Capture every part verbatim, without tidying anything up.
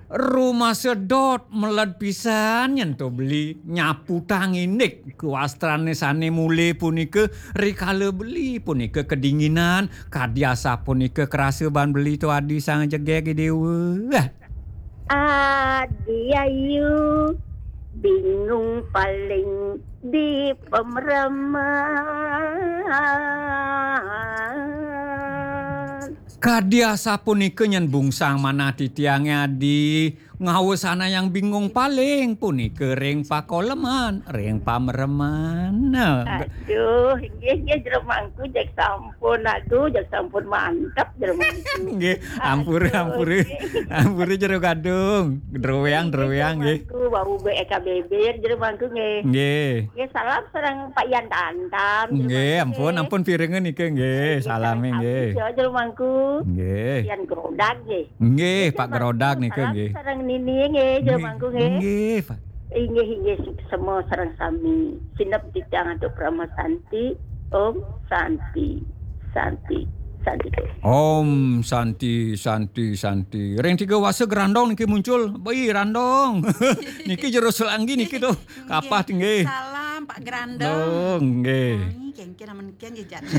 Rumasa dot meled pisan nyen to beli, nyaputang indik kawastrané sané mulih punika, rikala beli punika kedinginan, kadi asapunika karasa ban beli to adi sang jegég i déwa. Adi ayu, bingung paling di pemreman. Kadi asapunika nyen bungsang manah titiangé adi, ngawasanayang bingung paling punika ring pakoleman, ring pamreman. Nah, aduh, inggih, inggih, Jero Mangku, jeg sampun, aduh, jeg sampun mantep, Jero Mangku. Nggih, ampura, aduh, ampura. Nggih. Ampura, Jero Gadung. Druéang, nggih, druéang, Jero nggih. Mangku, wau bé éka bébér, Jero Mangku, nggih. Nggih. Nggih, salam sareng Pak Yan Tantam, Jero Mangku, nggih. Nggih, ampun, ampun pirengan nika, nggih. Nggih, salamé, sareng nggih. Abdi, ya, Jero Mangku. Nggih. Yan Grodag, nggih. Nggih, Pak Grodag nika, nggih. Sareng Nini nggih, Jero Mangku nggih. Nggih, Pak. Inggih, inggih, suksma sareng sami. Sineb titiang antuk Parama Santi. Om Santi, Santi, Santi. Om Santi, Santi, Santi. Ring tiga wasa Grandong niki muncul. Boi, Randong. Niki Jero Selanggi niki tuh. Kapah nggih. Salam, Pak Grandong. Dong, nggih. Nggih, kengken amen ken ya jatuh.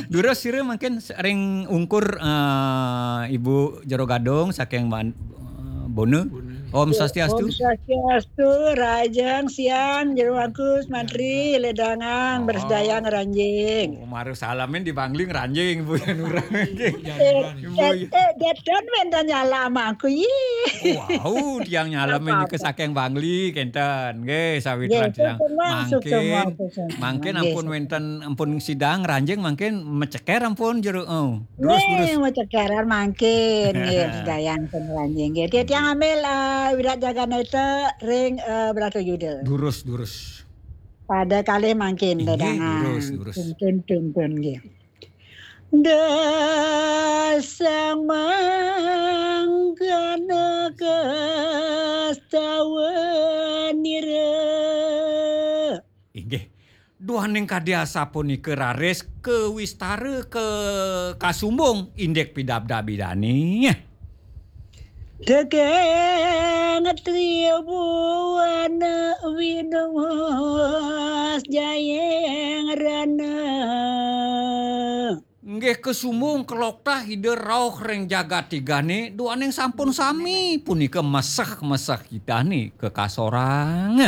Durus sira mangkin ring ungkur, eh, Ibu Jero Gadung saking Wan-, eh, Bona. Bona. Om Swastiastu. Om Swastiastu, rahajeng siang, Jero Mangku, mantri, ledangan, oh, bersedayang, ranjing. Oh, maru salamin di Bangli ngranjing, Bu, yan urang, nggih. Ibu, eh, yan eh, urang. Eh, déten wénten nyalem Mangku, yih. Wau, tiang nyalem niki saking Bangli, kénten. Nggih, sawitran nggih, tiang. Suksma, mangkin, suksma, suksma. Mangkin nggih, ampun suksma. Wénten, ampun sida ngranjing, mangkin maceker ampun Jero, oh, durus, nggih, durus. Macekeran mangkin, nggih, sedayang pun ngranjing. Nggih, tiang ambil, eh, Wirat Jaganata ring, eh, Bratayuda. Durus, durus. Pada kalih mangkin, inggih, ledangan. Durus, durus. Tuntun, tuntun, nggih. Dasang mangkana kastawanira. Inggih, duaning kadi asapunika raris kawistara ka kasumbung indik pidabdab Idané. Daging tribuana winuhus jayeng rana. Nggih, kasumbung kaloktah Ida rauh ring jagat tigané, duaning sampun sami punika meseh-meseh Idané kakasorang.